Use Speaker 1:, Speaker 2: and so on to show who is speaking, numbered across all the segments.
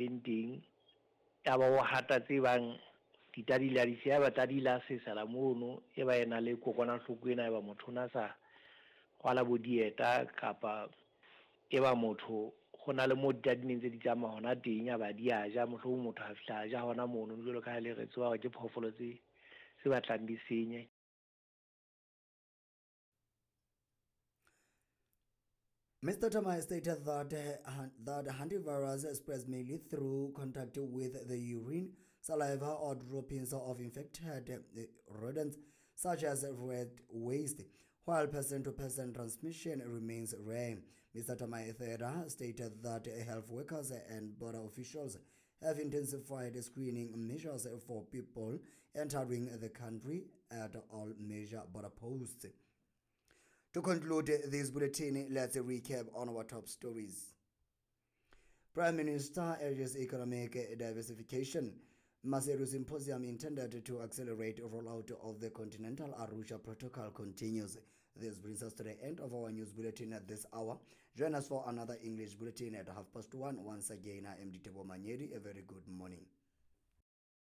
Speaker 1: Leng teng, yaba o hata tse bang ditadi la di siya, yaba tadi la sesela mono, e ba e na le kokwanahloko ena, eba motho o na sa rwala bo dieta kapa eba motho ho na le moo ditadi neng tse di tsamaya hona teng, yaba di a ja, mohlomong motho a fihla a ja hona mono, jwalo ka ha le re tseba hore ke phoofolo tse tse batlang di senya.
Speaker 2: Mr. Thamae stated that hantavirus spreads mainly through contact with the urine, saliva or droppings of infected rodents such as rat waste, while person-to-person transmission remains rare. Mr. Thamae further stated that health workers and border officials have intensified screening measures for people entering the country at all major border posts. To conclude this bulletin, let's recap on our top stories. Prime Minister urges economic diversification. Maseru Symposium intended to accelerate rollout of the Continental Arusha Protocol continues. This brings us to the end of our news bulletin at this hour. Join us for another English bulletin at 1:30. Once again, I am Ditebo Manyedi. A very good morning.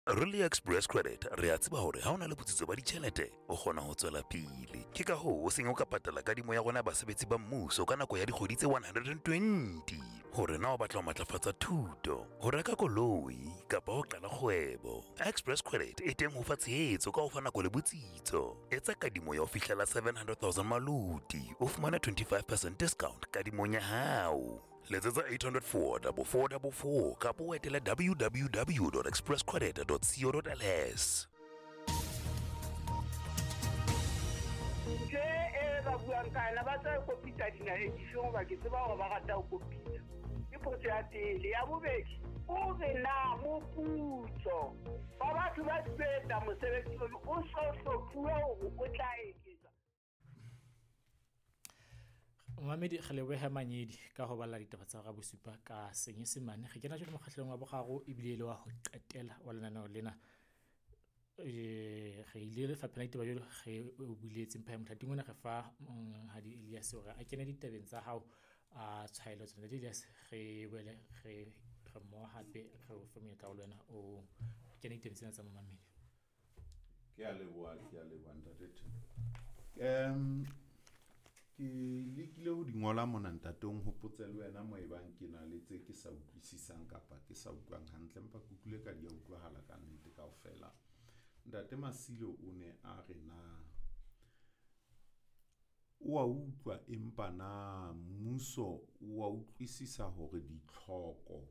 Speaker 3: Re le Express Credit re a tseba hore ha o na le botsitso ba ditjhelete o kgona ho tswela pele. Ke ka hoo o seng o ka patala kadimo ya rona ya basebetsi ba mmuso ka nako ya dikgwedi tse 120. Hore na o batla ho matlafatsa thuto, ho reka koloi kapa ho qala kgwebo, Express Credit e teng ho fa tshehetso ka ho fa nako le botsitso. Etsa kadimo ya ho fihlela 700,000 maluti, o fumane 25% discount kadimong ya hao. Letsetsa 804 4444 kapa o etele www.expresscredit.co.ls.
Speaker 4: Ntho e ba buang ka yona ba tla kopitsa dinaheng difeng hoba ke tseba hore ba rata ho kopitsa. Ke potso ya pele. Ya bobedi, o re na moputso wa batho ba tlilo etsa mosebetsi ono o so hlophuwe hore o tla eketswa?
Speaker 5: Momamedi re lebohe Manyedi ka ho balla ditaba tsa hora bosupa ka Senyesemane. Re kena jwale mokgahlelong wa boraro ebile e le wa ho qetela wa lenaneo lena. Re ile lefapheng la ditaba jwalo re o buletse mpha mothating ona re fa Monghadi Elias hore a kene ditabeng tsa hao a tshwaelo tsona. Ntate Elias re boele re mmoho hape re o fe monyetla o le wena o kene ditabeng tsena tsa momamedi.
Speaker 6: Ke a leboha, ke a leboha ntate Theko. Ke lekile ho di ngola mona ntate, o nhopotse le wena mo ebang ke na le tse ke sa utlwisisang kapa ke sa utlwang hantle, empa ke utlwile ka di a utlwahala ka nnete kaofela. Ntate Masilo o ne a re na o a utlwa empa na mmuso o a utlwisisa hore ditlhoko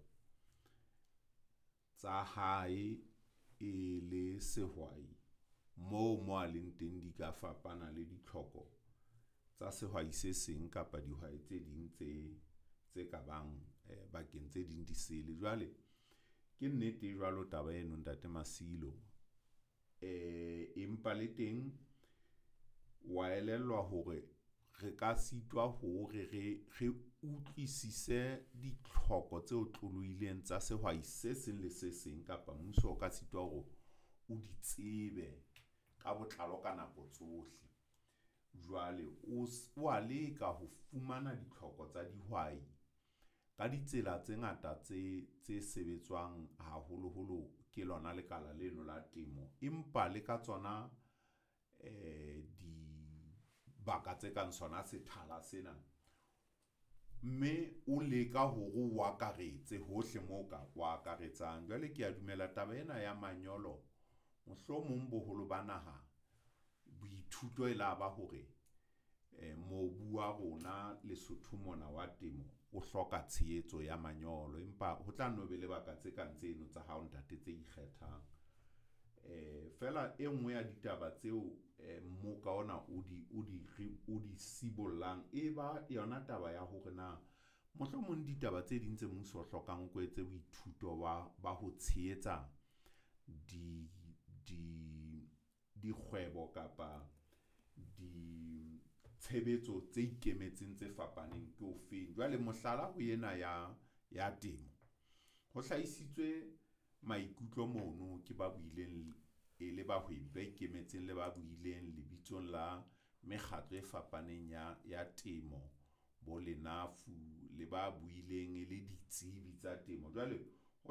Speaker 6: tsa hae e le sehwai moo mo a leng teng di ka fapana le ditlhoko tsa sehwai se seng kapa dihwai tse ding tse ka bang bakeng tse ding di sele. Jwale ke nnete jwalo taba eno ntate Masilo, empa le teng wa elellwa hore re ka sitwa hore re utlwisise ditlhoko tse otlolohileng tsa sehwai se seng le se seng kapa mmuso o ka sitwa hore o di tsebe ka botlalo ka nako tsohle. Jwale o a leka ho fumana ditlhoko tsa dihwai ka ditsela tse ngata tse sebetswang haholoholo ke lona lekala leno la temo, empa le ka tsona dibaka tse kang sona sethala sena, mme o leka hore o akaretse hohle moo ka o akaretsang. Jwale ke a dumela taba ena ya manyolo, mohlomong boholo ba naha boithuto e la ba hore mobu wa rona Lesotho mona wa temo o hloka tshehetso ya manyolo, empa ho tla nno be lebaka tse kang tseno tsa hao ntate tse ikgethang. Feela e nngwe ya ditaba tseo mmoka ona o di sibollang e ba yona taba ya hore na mohlomong ditaba tse ding tse mmuso o hlokang o ko etse boithuto ba ho tshehetsa dikgwebo kapa ditshebetso tse ikemetseng tse fapaneng ke ofeng. Jwale mohlala ho ena ya temo, ho hlahisitswe maikutlo mono ke ba buileng e le bahwebi ba ikemetseng le ba buileng lebitsong la mekgatlo e fapaneng ya temo, bo Lenafu le ba buileng e le ditsebi tsa temo. Jwale